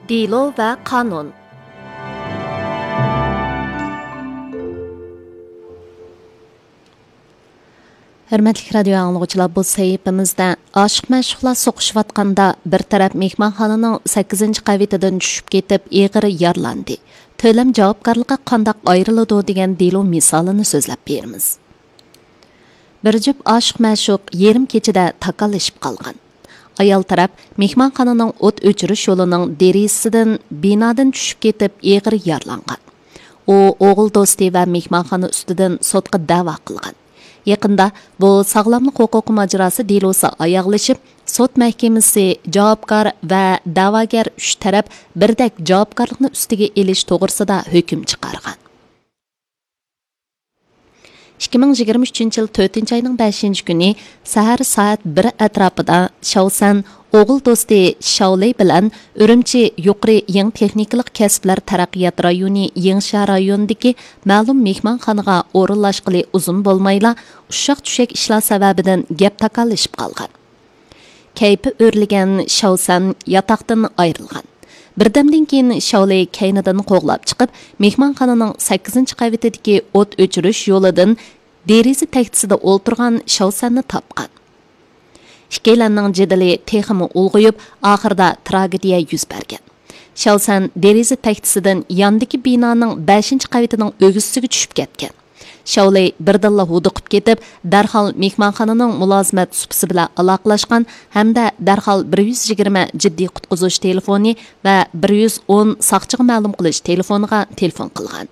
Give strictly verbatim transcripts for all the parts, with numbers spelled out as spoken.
دېلو ۋە قانۇن. ھۆرمەتلىك رادىيو ئاڭلىغۇچىلار، بۇ سەھىپىمىزدە ئاشىق-مەشۇقلار سوقۇشۇۋاتقاندا بىر تەرەپ مېھمانخانىنىڭ سەككىزىنچى قەۋىتىدىن چۈشۈپ كېتىپ ئېغىر يارىلاندى. تۆلەم جاۋابكارلىقى قانداق ئايرىلىدۇ دېگەن دېلو مىسالىنى سۆزلەپ بېرىمىز. بىر جۈپ ئاشىق-مەشۇق يېرىم كېچىدە تاكاللىشىپ قالغان. ئايال تەرەپ مېھمانخانىنىڭ ئوت ئۆچۈرۈش يولىنىڭ دېرىزىسىدىن بىنادىن چۈشۈپ كېتىپ ئېغىر يارىلانغان. ئۇ ئوغۇل دوستى ۋە مېھمانخانا ئۈستىدىن سوتقا دەۋا قىلغان. يېقىندا بۇ ساغلاملىق ھوقۇقى ماجىراسى دېلوسى ئاياغلىشىپ، سوت مەھكىمىسى جاۋابكار ۋە دەۋاگەر ئۈچ تەرەپ بىردەك جاۋابكارلىقنى ئۈستىگە ئېلىش توغرىسىدا ھۆكۈم چىقارغان. ئىككى مىڭ يىگىرمە ئۈچىنچى يىل تۆتىنچى ئاينىڭ بەشىنچى كۈنى سەھەر سائەت بىر ئەتراپىدا شاۋسەن ئوغۇل دوستى شاۋلى بىلەن ئۈرۈمچى يۇقىرى يېڭى تېخنىكىلىق كەسىپلەر تەرەققىيات رايونى يېڭىشەھەر رايونىدىكى مەلۇم مېھمانخانىغا ئورۇنلاشقىلى ئۇزۇن بولمايلا، ئۇششاق-چۈشەك ئىشلار سەۋەبىدىن گەپ تاكاللىشىپ قالغان. كەيپى ئۆرلىگەن شاۋسەن ياتاقتىن ئايرىلغان. بىردەمدىن كېيىن شاۋلى كەينىدىن قوغلاپ چىقىپ، مېھمانخانىنىڭ سەككىزىنچى قەۋىتىدىكى ئوت ئۆچۈرۈش يولىدىن دېرىزە تەكچىسىدە ئولتۇرغان شاۋسەننى تاپقان. ئىككىيلەننىڭ جېدىلى تېخىمۇ ئۇلغىيىپ، ئاخىرىدا تراگېدىيە يۈز بەرگەن. شاۋسەن دېرىزە تەكچىسىدىن ياندىكى بىنانىڭ بەشىنچى قەۋىتىنىڭ ئۆگزىسىگە چۈشۈپ كەتكەن. شاۋلى بىردىنلا ھودۇقۇپ كېتىپ، دەرھال مېھمانخانىنىڭ مۇلازىمەت سۇپىسى بىلەن ئالاقىلاشقان ھەمدە دەرھال بىر يۈز يىگىرمە جىددىي قۇتقۇزۇش تېلېفونى ۋە بىر يۈز ئون ساقچىغا مەلۇم قىلىش تېلېفونىغا تېلېفون قىلغان.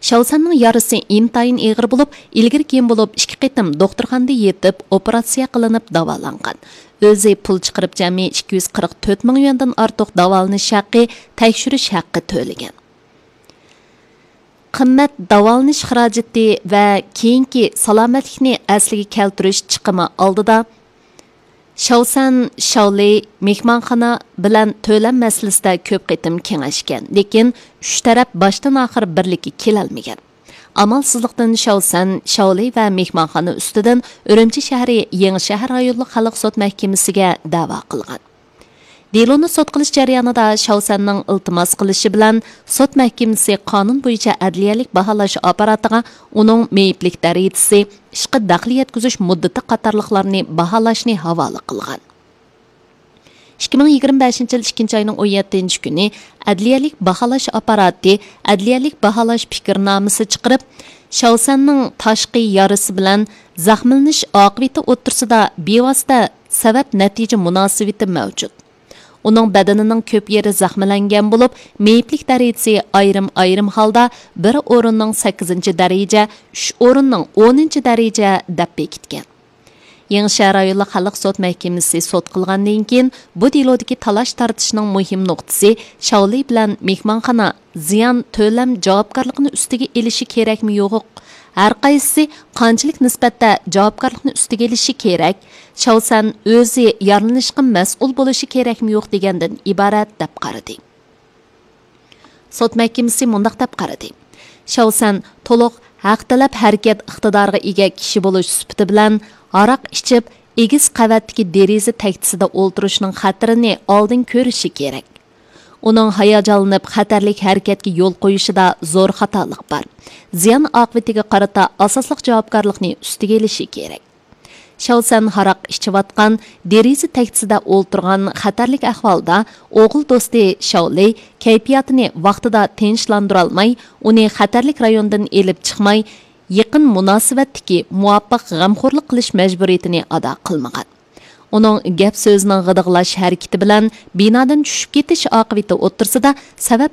شاۋسەننىڭ يارىسى ئىنتايىن ئېغىر بولۇپ، ئىلگىرى كېيىن بولۇپ ئىككى قېتىم دوختۇرخانىدا يېتىپ، ئوپېراتسىيە قىلىنىپ داۋالانغان. ئۆزى پۇل چىقىرىپ جەمئىي ئىككى يۈز قىرىق تۆت مىڭ يۈەندىن ئارتۇق داۋالىنىش ھەققى، تەكشۈرۈش ھەققى تۆلىگەن. قىممەت داۋالىنىش خىراجىتى ۋە كېيىنكى سالامەتلىكنى ئەسلىگە كەلتۈرۈش چىقىمى ئالدىدا، شاۋسەن شاۋلى مېھمانخانا بىلەن تۆلەم مەسىلىسىدە كۆپ قېتىم كېڭەشكەن، لېكىن ئۈچ تەرەپ باشتىن ئاخىر بىرلىككە كېلەلمىگەن. ئامالسىزلىقتىن شاۋسەن شاۋلى ۋە مېھمانخانا ئۈستىدىن ئۈرۈمچى شەھىرى يېڭى شەھەر رايونلۇق خەلق سوت مەھكىمىسىگە دەۋا قىلغان. دېلونى سوت قىلىش جەريانىدا شاۋسەننىڭ ئىلتىماس قىلىشى بىلەن سوت مەھكىمىسى قانۇن بويىچە ئەدلىيەلىك باھالاش ئاپپاراتىغا ئۇنىڭ مېيىپلىك دەرىجىسى، ئىشقا دەخلى يەتكۈزۈش مۇددىتى قاتارلىقلارنى باھالاشنى ھاۋالە قىلغان. ئىككى مىڭ يىگىرمە بەشىنچى يىل ئىككىنچى ئاينىڭ ئون يەتتىنچى كۈنى ئەدلىيەلىك باھالاش ئاپپاراتى ئەدلىيەلىك باھالاش پىكىرنامىسى چىقىرىپ، شاۋسەننىڭ تاشقى يارىسى بىلەن زەخىملىنىش ئاقىۋىتى ئوتتۇرىسىدا بىۋاسىتە سەۋەب نەتىجە مۇناسىۋىتى مەۋجۇت. ئۇنىڭ بەدىنىنىڭ كۆپ يېرى زەخىملەنگەن بولۇپ، مېيىپلىك دەرىجىسى ئايرىم-ئايرىم ھالدا بىر ئورۇننىڭ سەككىزىنچى دەرىجە، ئۈچ ئورۇننىڭ ئونىنچى دەرىجە دەپ بېكىتكەن. يېڭىشەھەر رايونلۇق خەلق سوت مەھكىمىسى سوت قىلغاندىن كېيىن، بۇ دېلودىكى تالاش-تارتىشنىڭ مۇھىم نۇقتىسى شاۋلى بىلەن مېھمانخانا زىيان تۆلەم جاۋابكارلىقىنى ئۈستىگە ئېلىشى كېرەكمۇ يوق، ھەرقايسىسى قانچىلىك نىسبەتتە جاۋابكارلىقنى ئۈستىگە ئېلىشى كېرەك، شاۋسەن ئۆزى يارىلىنىشقا مەسئۇل بولۇشى كېرەكمۇ يوق دېگەندىن ئىبارەت دەپ قارىدى. سوت مەھكىمىسى مۇنداق دەپ قارىدى: شاۋسەن تولۇق ھەق تەلەپ ھەرىكەت ئىقتىدارىغا ئىگە كىشى بولۇش سۈپىتى بىلەن، ھاراق ئىچىپ، ئېگىز قەۋەتتىكى دېرىزە تەكچىسىدە ئولتۇرۇشنىڭ خەتىرىنى ئالدىن كۆرۈشى كېرەك. ئۇنىڭ ھاياجانلىنىپ خەتەرلىك ھەرىكەتكە يول قويۇشىدا زور خاتالىق بار. زىيان ئاقىۋىتىگە قارىتا ئاساسلىق جاۋابكارلىقنى ئۈستىگە ئېلىشى كېرەك. شاۋسەن ھاراق ئىچىۋاتقان، دېرىزە تەكچىسىدە ئولتۇرغان خەتەرلىك ئەھۋالدا ئوغۇل دوستى شاۋلى كەيپىياتىنى ۋاقتىدا تىنچلاندۇرالماي، ئۇنى خەتەرلىك رايوندىن ئېلىپ چىقماي، يېقىن مۇناسىۋەتتىكى مۇۋاپىق غەمخورلۇق قىلىش مەجبۇرىيىتىنى ئادا قىلمىغان. ئۇنىڭ گەپ سۆزىنىڭ غىدىقلاش ھەرىكىتى بىلەن بىنادىن چۈشۈپ كېتىش ئاقىۋىتى ئوتتۇرىسىدا سەۋەب